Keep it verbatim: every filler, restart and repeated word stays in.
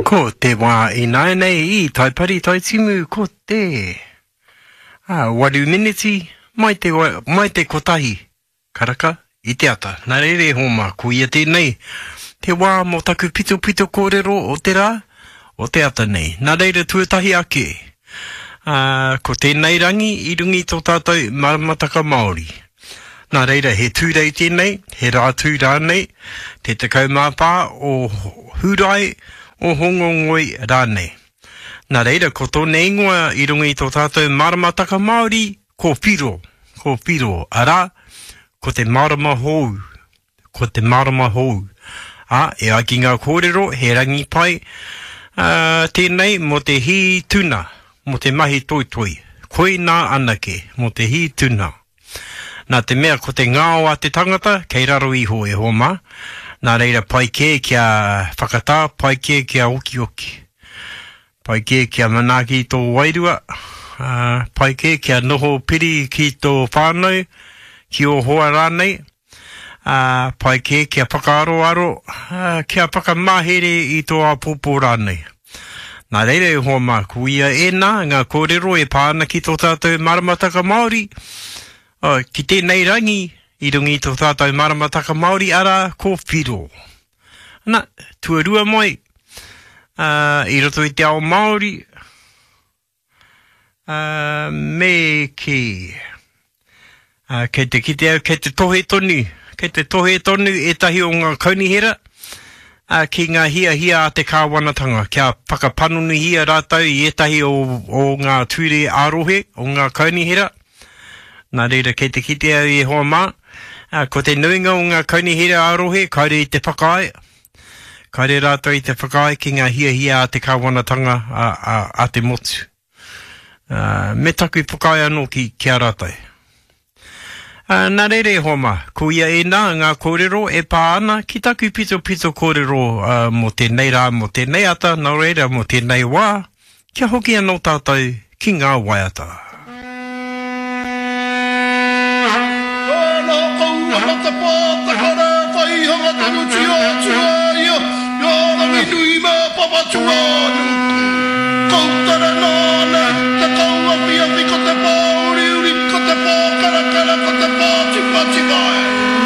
Ko te wā ināianei i Taipari Taitimu ko te ā, waru miniti mai te, mai te kotahi karaka i te ata. Nā reira e hoa mā, ko ia tēnei te wā mō taku pitopito kōrero o te rā, o te ata nei. Nā reira tuatahi ake, ā, ko tēnei rangi i runga i tō tātou maramataka Māori. Nā reira, he Tūrei tēnei, he Rātū rānei, te tekau mā whā o Hūrae, o Hōngongoi rānei. Nā reira, ko tōna ingoa i runga i tō tātou maramataka Māori, ko Whiro, ko Whiro, arā, ko te marama hou, ko te marama hou. Ā, e ai ki ngā kōrero, he rangi pai, ā, tēnei mō te hī tuna, mō te mahi toitoi. Koinā anake, mō te hī tuna. Nā te mea ko te ngao a te tangata kei raro iho e hoa mā, nā reira pai kē kia whakatā, pai kē kia okioki. Pai kē kia manaaki tō wairua, ā, pai kē kia noho piri ki tō whānau, ki ō hoa rānei, ā, pai kē kia whakaaroaro, ā, kia whakamahere i tō āpōpō rānei. Nā reira e hoa mā, ko ia ēnā ngā kōrero e pā ana ki tō tātou maramataka Māori, oh, ki tēnei rangi i runga i tō tātou maramataka Māori, arā, ko Whiro. Ana, tuarua mai, uh, i roto i te ao Māori, uh, me kī, uh, kei te kite au, kei te tohe tonu, kei te tohe tonu ētahi o ngā kaunihera, uh, ki ngā hiahia a te kāwanatanga, kia whakapanonihia rātou i ētahi o, o ngā ture ā-rohe, o ngā kaunihera. Nā reira, kei te kite au e hoa mā, ā, ko te nuinga o ngā kaunihera ā-rohe kāore i te whakaae, kāore rātou i te whakaae ki ngā hiahia a te kāwanatanga a, a, a te motu. Ā, me taku whakaae anō ki, ki a rātou. Ā, nā reira e hoa mā, ko ia ēnā ngā kōrero e pā ana ki taku pitopito kōrero ā, mō tēnei rā, mō tēnei ata, nā reira mō tēnei wā, kia hoki anō tātou ki ngā waiata. Nā kau ana te pātakara whaihanga tonutia atu a ia i a Ranginui me Papatūānuku. Koutere nāna te kauawhiawhi ko te pā uriuri, ko te pā karakara, ko te pā tipatipa e.